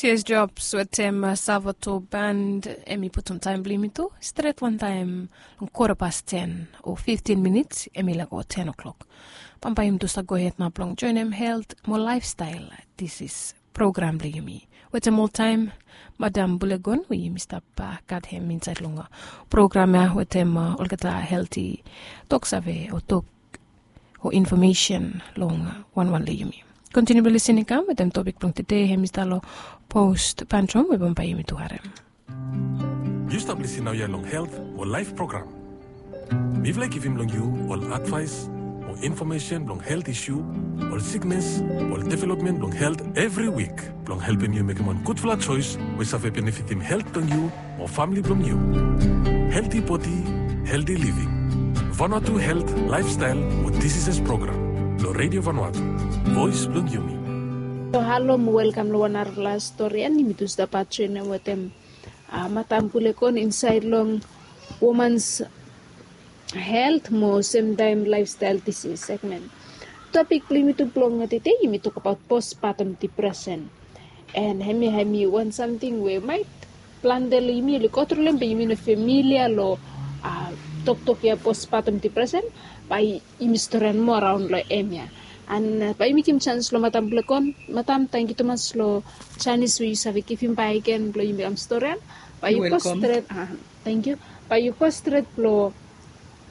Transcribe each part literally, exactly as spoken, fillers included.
Jes Jobs wetem Savato Band. Em i putum taem blong yumi tu stret wantaem long kota pas ten o fiftin minits em i lago ten o'klok. Bambae yumi tu stap gohed nao blong joenem helt mo laefstael disis program blong yumi wetem oltaem Madam Bulegon we yumi stap gat hem insaed long program ya wetem olgeta helti toksave o tok o infomesen long wanwan long yumi. Kontiniu blong lisin i kam wetem topik blong tede hem i stap long post pantrum we bambae yumi tu harem. Yu stap lisin naoia long helt o laef program. Mifala i givim long yu ol advaes o infomesen blong helt isu, ol siknes, ol developmen blong helt evri wik blong helpem yu mekem wan gudfala joes we save benefitim helt blong yu o famle blong yu. Helti bodi, helti living. Vanuatu helt, laefstael o disises program long Redio Vanuatu, voes blong yumi. So halo mo welkam long wan narafala stori. An yumi tu stap ajoenem wetem Madam Bulegon insaed long womans helt mo semtaem laefstael disis segmen. Topik blong yumi tu blong tede yumi tokbaot pospatom dipresen. An hemia hem i wan samting we maet plante long yumi oli go tru long hem be yumi no femilia long toktok ya pospatom dipresen. Bae yumi storian moa raon long hemia. An bae yumi givim janis long Madam Bulegon. Madam, tangkiu tumas long janis we yu save givim bakegen blong yumi kam storian. Bae yu go stret. Tangkiu. Bae yu go stret blong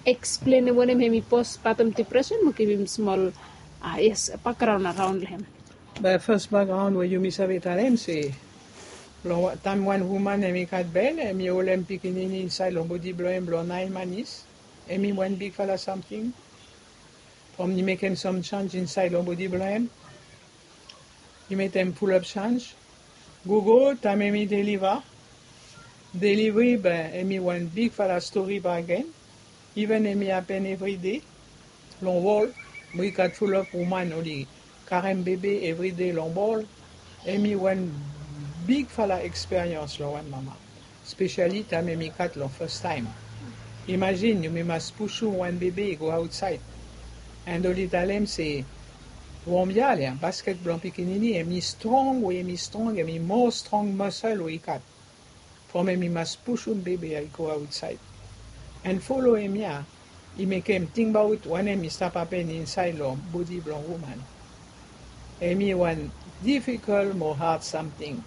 eksplenem wanem hem i pospatom dipresen mo givim smol, yes, bakgraon araon long hem. Be fas bakgraon we yumi save talem se long taem wan woman hem i gat bel hem i holem pikinini insaed long bodi blong hem blong naen manis. Hem i wan bigfala samting. From i mekem sam janis insaed long bodi blong hem, i mekem fulap janis. Gogo taem hem i deliva. Delivri be hem i wan bigfala stori bakegen. Iven hem i hapen evride long wol we i gat fulap woman oli karem bebe evride long wol. Hem i wan bigfala eksperians long wan mama, spesiali taem hem i gat long fastaem. Imajin yumi mas pusum wan bebe i go aotsaed. An oli talem se wom ya le basket blong pikinini hem i strong we hem i strong hem i moa strong masel we i gat. From hem i mas pusum bebe ya i go aotsaed. An folo hemia i mekem tingbaot wanem i stap hapen insaed long bodi blong woman. Hem i wan difikol mo had samting.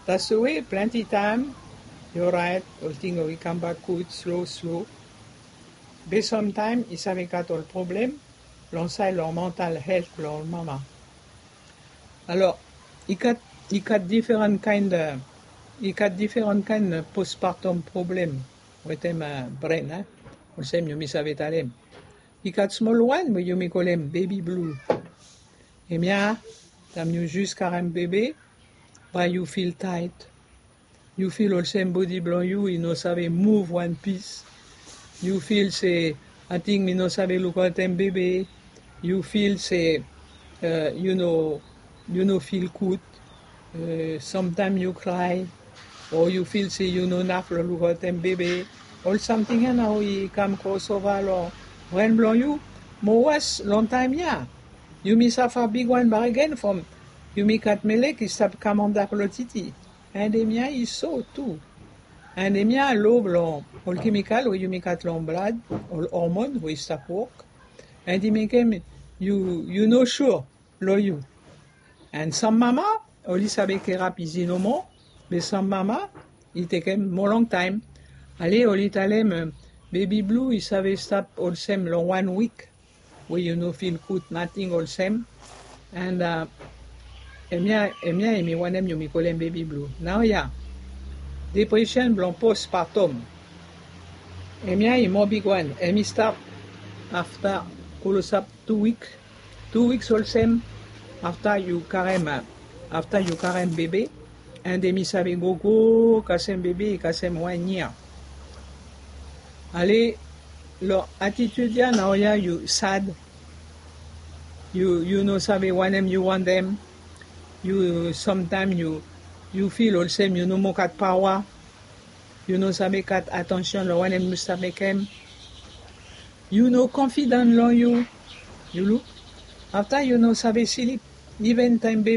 That's the way plante taem yu oraet, olting oli kambak gud slo slo. Be samtaem i save gat ol problem long saed long mantal helt blong ol mama. Alor i gat i gat diferan kaen i gat diferan kaen pospartom problem wetem bren, olsem yumi save talem. I gat smol wan we yumi kolem bebi blu. Hemia taem yu jis karem bebe, bae yu fil taet. Yu fil olsem bodi blong yu i no save muv wan pis. Yu fil se ating mi no save lukaotem bebe. Yu fil se yu no yu no fil gud. Samtaem yu krae o yu fil se yu no naf long lukaotem bebe. Ol samting ya nao i kam krosova long bren blong yu. Mo was long taem ya yumi safa bigwan bakegen from yumi gat melek i stap kam antap long titi. An hemia i so tu. An hemia lo blong ol kemikal we yumi gat long blad, ol hormon we i stap wok, an i mekem yu yu no sua long yu. An sam mama oli save kerap izi nomo. Be sam mama i tekem moa longtaem. Ale oli talem bebi blu i save stap olsem long wan wik we yu no fil gud nating olsem. An hemia hemia hem i wanem yumi kolem bebi blu naoia. Depresen blong pospatom. Hemia i moa bigwan hem i stap afta klosap tu wik. Tu wiks olsem afta yu karem afta yu karem bebe. An hem i save gogo kasem bebe kasem wan yia. Ale long atitid ya naoia yu sad. Yu yu no save wanem yu wantem. Yu samtaem yu yu fil olsem yu no moa gat paoa. Yu no save gat atansion long wanem yu save mekem. Yu no konfidan long yu. Yu luk afta yu no save slip. Iven taem bebe